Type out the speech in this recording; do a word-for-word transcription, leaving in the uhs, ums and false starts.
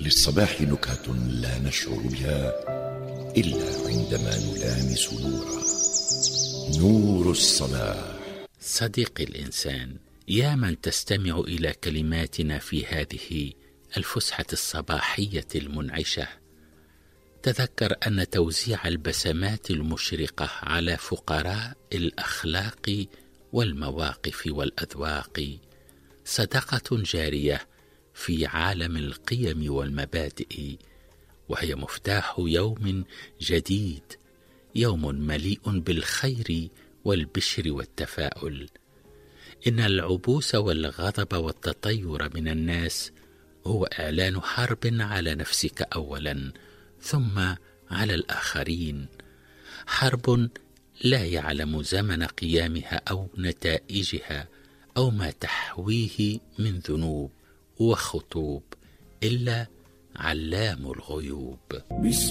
للصباح نكهة لا نشعر بها إلا عندما نلامس نورا، نور الصباح. صديقي الإنسان، يا من تستمع إلى كلماتنا في هذه الفسحة الصباحية المنعشة، تذكر أن توزيع البسمات المشرقة على فقراء الأخلاق والمواقف والأذواق صدقة جارية في عالم القيم والمبادئ، وهي مفتاح يوم جديد، يوم مليء بالخير والبشر والتفاؤل. إن العبوس والغضب والتطير من الناس هو إعلان حرب على نفسك أولا، ثم على الآخرين، حرب لا يعلم زمن قيامها أو نتائجها أو ما تحويه من ذنوب وخطوب إلا علام الغيوب.